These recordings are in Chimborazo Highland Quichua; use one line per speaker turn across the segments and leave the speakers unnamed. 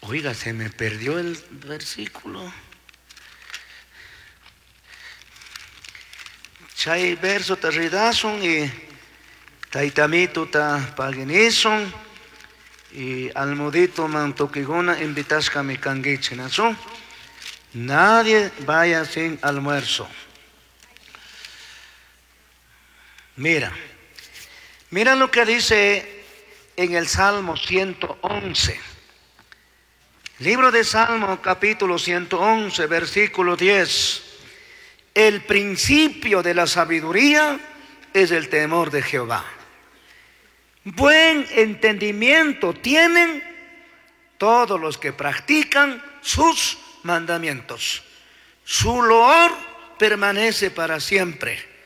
Oiga, se me perdió el versículo. Chay verso ta ridasun y taytamito ta paginisun y almudito man tukiguna invitashkami kanguichik, nachu? Nadie vaya sin almuerzo. Mira, mira lo que dice en el Salmo 111. Libro de Salmo, capítulo 111, versículo 10. El principio de la sabiduría es el temor de Jehová. Buen entendimiento tienen todos los que practican sus mandamientos. Su loor permanece para siempre.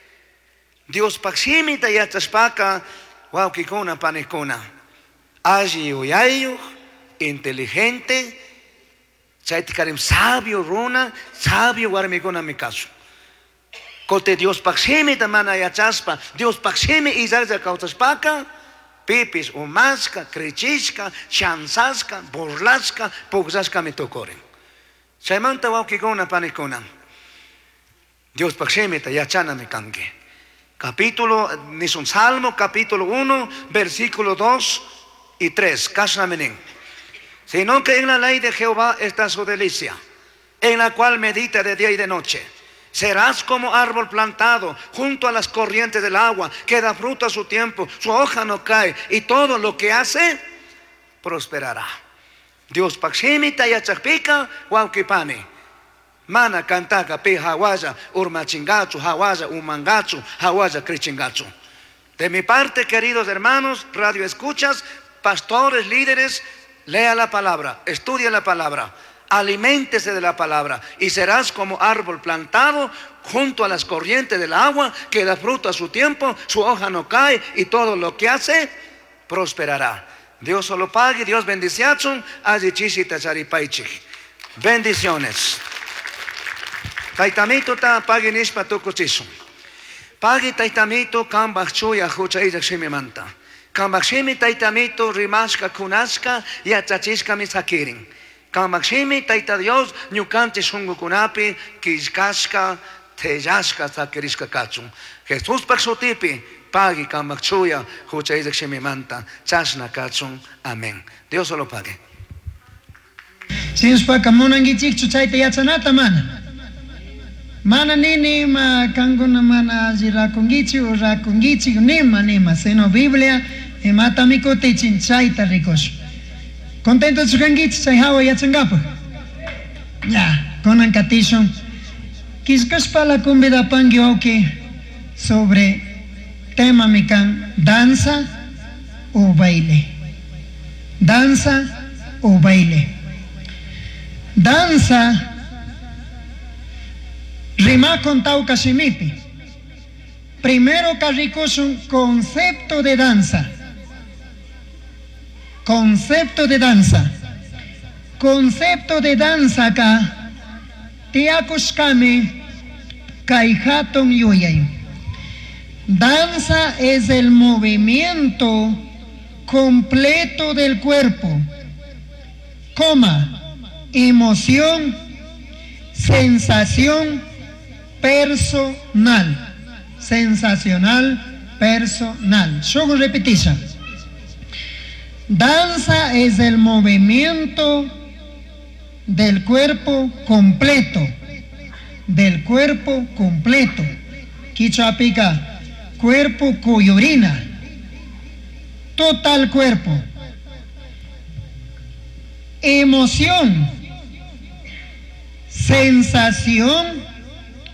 Diospaj shimita yachashpaca, huauquicuna, panicuna, alli yuyayuj, inteligente, chaytikarim sabio runa, sabio warmikunami kashun. Kote Diospaj shimita mana yachashpa, Diospaj shimi illajlla kawsashpaka, pipis umashka, krichishka, chanzashka, burlashka, pugllashkami tukurin. Chaymanta wawkikuna, panikuna, Diospaj shimita yachanami kanki. Capítulo, nisun Salmo, capítulo 1, versículo 2 y 3. Kashnami nin. Sino que en la ley de Jehová está su delicia, en la cual medita de día y de noche. Serás como árbol plantado junto a las corrientes del agua, que da fruto a su tiempo, su hoja no cae, y todo lo que hace prosperará. Diospaj shimita yachajpika wawqipani. Mana kantaka pi hawalla urmachingachu, hawalla umangachu, hawalla krichingachu. De mi parte, queridos hermanos, radio escuchas, pastores, líderes, lea la palabra, estudie la palabra, aliméntese de la palabra y serás como árbol plantado junto a las corrientes del agua que da fruto a su tiempo, su hoja no cae y todo lo que hace prosperará. Dios solo pague, Dios bendiciachun, alli chishita charipaichik. Bendiciones. Taytamito ta pagui nishpa tukuchishun. Pagui taytamito kambaj chuya hucha illaj shimimanta. Kambaj shimi taytamito rimashka kunashka yachachishkami sakirin. Kambaj shimi tayta Dios ñukanchik shunkukunapi killkashka tellashka sakirishka kachun. Jesuspaj shutipi pagui kambaj chuya hucha illaj shimimanta chashna kachun. Amén. Dios solo pague.
Shinashpaka munankichikchu chayta yachanata mana. Mana nini ima kankuna mana alli rakunkichik o rakunkichik nima nima, sino Biblia imatami kutichin chayta rikushun. Contentochu kankichik chay hawa yachankapaj? Ya, kunan katishun. Killkashpala convidapanki wawki sobre temami kan danza o baile. Danza o baile. Danza rimakun tawka shimipi. Primero rikushun concepto de danza. Concepto de danza. Concepto de danza ka tiyakushkami kay hatun yuyay. Danza es el movimiento completo del cuerpo, coma, emoción, sensación personal. Sensacional personal. Shuj repetisha. Danza es el movimiento del cuerpo completo. Del cuerpo completo. Kichwapika, cuerpo kuyurina. Total cuerpo. Emoción. Sensación.